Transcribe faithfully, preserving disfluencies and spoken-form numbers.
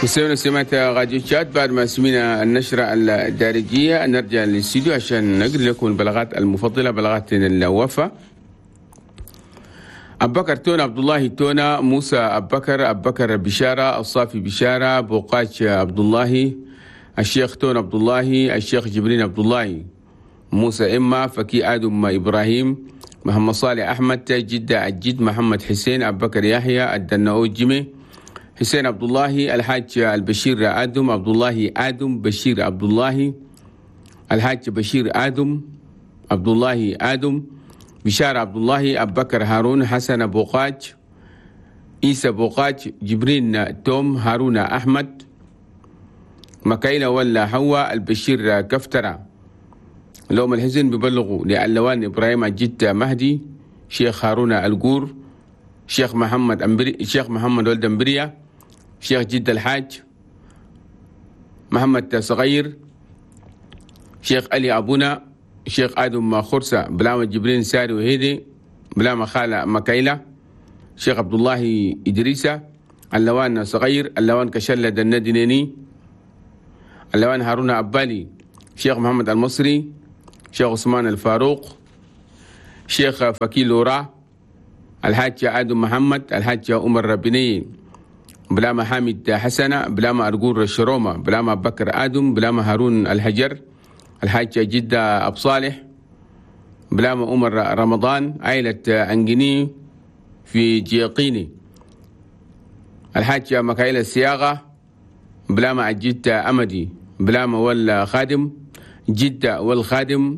مستمعينا سمعت راديو تشاد، بعد ما سمينا النشرة الدارجية نرجع للاستديو عشان نقرأ لكم البلاغات المفضلة، بلاغات الوفا. أبو بكر تونا، عبد الله تونا، موسى أبو بكر، أبو بكر بشارة، الصافي بشارة، بوقاش عبد الله، الشيخ تون عبد الله، الشيخ جبرين عبد الله، موسى إما، فكي آدم إبراهيم، محمد صالح أحمد، جدة الجد، محمد حسين، أبو بكر يحيى، الدناو جيمي، حسين عبد الله، الحاج البشير آدم، عبد الله آدم، بشير عبد الله، الحاج بشير آدم، عبد الله آدم، بشار عبد الله، أبو بكر هارون، حسن بوقاج، عيسى بوقاج، جبرين توم، هارون أحمد، مكايلة ولا حوا، البشير كفترة. لوم الحزن ببلغوا لعلوان إبراهيم الجد مهدي، شيخ هارون القور، شيخ محمد أمبري، شيخ محمد ولد أمبريا، شيخ جد الحاج محمد صغير، شيخ علي أبونا، شيخ آدم خرسة، بلاما جبرين ساري وهيدي، بلاما خالة مكايلة، شيخ عبد الله إدريسة، اللوان صغير، اللوان كشلة دندنيني، اللوان هارون أبالي، شيخ محمد المصري، شيخ عثمان الفاروق، شيخ فكيل لورا، الحاج آدم محمد، الحاج عمر ربني، بلاما حامد حسنة، بلاما أرجور الشرومة، بلاما بكر آدم، بلاما هارون الحجر، الحاج جدة أبو صالح، بلاما عمر رمضان، عائلة أنجني في جيقيني، الحاج مكايل السياغة، بلاما الجدة أمدي، بلاما ولا خادم، جدة والخادم.